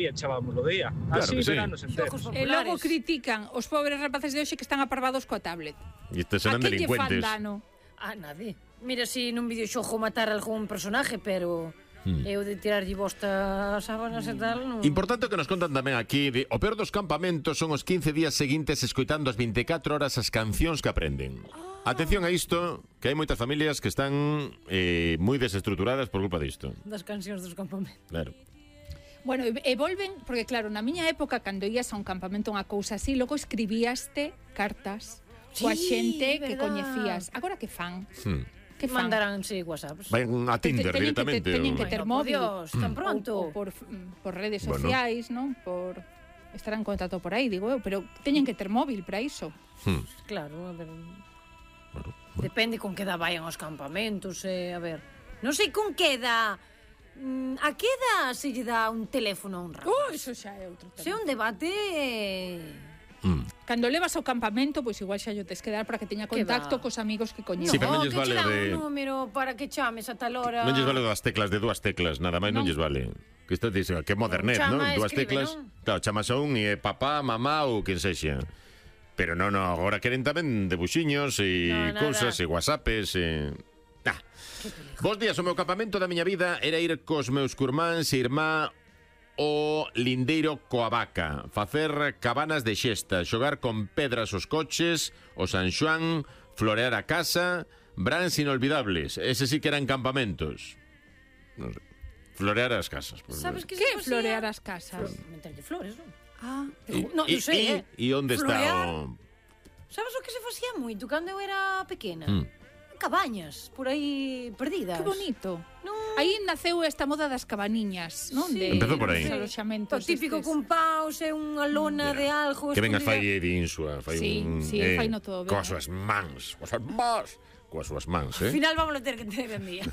e echábamos o día. Claro Así que sí. veranos enteros. E logo critican os pobres rapaces de hoxe que están aparvados coa tablet. E estes serán A que lle fan delincuentes. dano? A nadie. Mira, si nun videoxogo matar algún personaje, pero eu de tirarlle bosta as sábanas e tal, non... Importante que nos contan tamén aquí o peor dos campamentos son os 15 días seguintes escoitando as 24 horas as cancións que aprenden. Atención a isto, que hai moitas familias que están moi desestructuradas por culpa disto. Das cancións dos campamentos. Claro. Bueno, e volven, porque claro, na miña época, cando ías a un campamento unha cousa así, logo escribíaste cartas coa xente que coñecías. Agora que fan? Que fan? Mandaránse WhatsApps. Van a Tinder directamente. Teñen que ter móvil. Dios, tan pronto. Ou por redes sociais, non? Por estar en contacto por aí, digo eu, pero teñen que ter móvil para iso. Claro, a ver... Depende con que edad vayan aos campamentos, a ver... Non sei con que edad... A que edad se lle dá un teléfono a un rapaz? Iso xa é outro tema. Se é un debate... Cando levas ao campamento, pois igual xa yo tes que dar para que teña contacto cos amigos que coñeces. Sí, pero non lles que vale che dan de... un número para que chames a tal hora... Non lles vale das teclas, de dúas teclas, nada máis non lles vale. Que isto dice, que modernet, non? Chama, Dúas escribe, teclas. non? Claro, chamas a un e papá, mamá ou quen sexa. Pero non, agora queren tamén debuxiños e cousas e whatsappes e... Bos días, o meu campamento da miña vida era ir cos meus curmáns e irmá o lindeiro coa vaca, facer cabanas de xesta, xogar con pedras os coches, o San Xoán, florear a casa, brans inolvidables. Ese sí que eran campamentos. Non sei. Florear as casas. Sabes que Que florear as casas? Meterlle flores, non? Ah, non sei, E onde está o... Sabes o que se facía moito cando eu era pequena? Cabañas, por aí perdidas. que bonito. Non... Aí naceu esta moda das cabaniñas, non? Sí. Empezou por aí. Dos aloxamentos O típico estes. cun paus e unha lona de algo Que vengas escondida. fai de insua, fai Sí, un... sí, faino todo ben. Coas súas mans, coas súas mans, Al final vamos a ter que ter en día.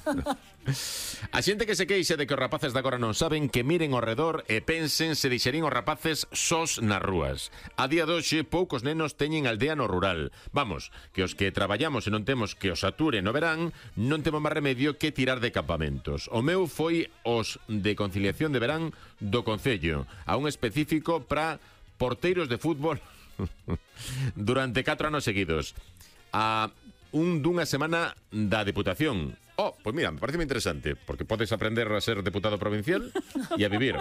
A xente que se queixa de que os rapaces de agora non saben, que miren ao redor e pensen se deixarín os rapaces sós nas rúas. A día de hoxe, poucos nenos teñen aldea no rural. Vamos, que os que traballamos e non temos que os ature no verán, non temos máis remedio que tirar de campamentos. O meu foi os de conciliación de verán do Concello, a un específico para porteiros de fútbol durante 4 anos seguidos. A un dunha semana da Deputación. Pois mira, me parece moi interesante, porque podes aprender a ser deputado provincial e a vivir.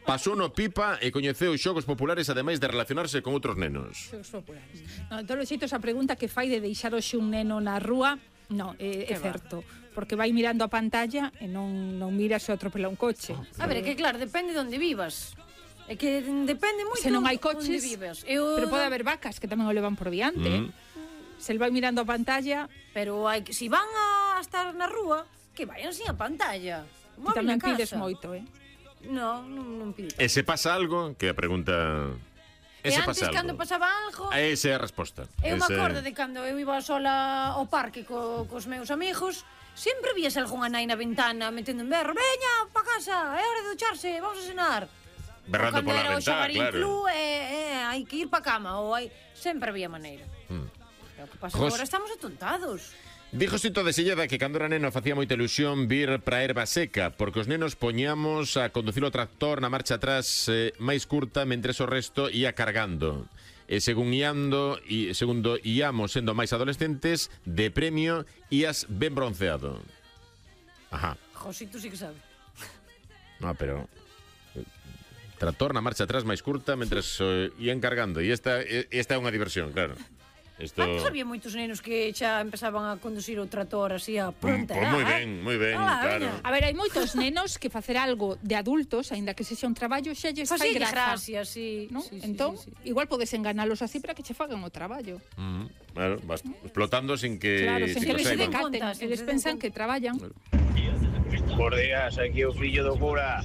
Pasou no pipa e coñeceu xogos populares, ademais de relacionarse con outros nenos. Xogos populares. No, de todos os xeitos, a pregunta que fai de deixar hoxe un neno na rúa, non, é certo. Porque vai mirando a pantalla e non mira se atropela un coche. A ver, é que claro, depende de onde vivas. É que depende moito Se non hai onde coches, vivas. pero pode haber vacas que tamén o levan por diante. Se el vai mirando a pantalla... Pero hai que, si van a estar na rúa, que vayan sin a pantalla. Ti tamén pides moito, Non pides. E se pasa algo, que a pregunta... E antes, cando pasaba algo... Esa é a resposta. Eu me acordo de cando eu iba sola ao parque cos meus amigos, sempre vías algunha nai na ventana metendo en berro: veña, pa casa, é hora de ducharse, vamos a cenar. Berrando pola ventana, claro. Hai que ir pa cama, ou hai... Sempre había maneira. O que pasa agora estamos atontados. Dijo Xito de Silleda que cando era neno facía moita ilusión vir pra erva seca, porque os nenos poñamos a conducir o tractor na marcha atrás máis curta, mentres o resto ia cargando. E segundo íamos sendo máis adolescentes, de premio ías ben bronceado. Ajá. Josito sí que sabe. No, pero... Tractor na marcha atrás máis curta, mentres ían cargando. E esta é unha diversión, claro. Antes había moitos nenos que xa empezaban a conducir o trator así a pronta. Moi ben, claro. A ver, hai moitos nenos que facer algo de adultos, aínda que sexa un traballo, xa lles fai gracia, sí. Entón, igual podes enganalos así para que che fagan o traballo. Claro, vas explotando sin que... Claro, sin que se decaten, eles pensan que traballan. Por días, aquí o fillo do cura.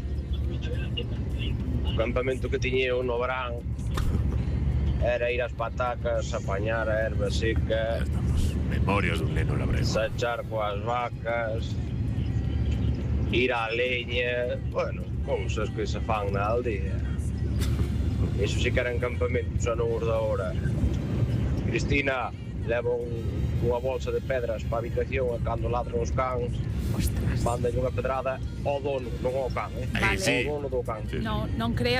O campamento que tiñe no verán era ir ás patacas, apañar a erva seca, memorias dun neno labrego, sachar coas vacas, ir á leña, bueno, cousas que se fan na aldea. Iso sí que eran campamentos, xa non os da hora. Cristina, levan unha bolsa de pedras para a habitación e cando ladran os cans mandan unha pedrada ao dono, non ao can, Sí. ao dono do can. Non creas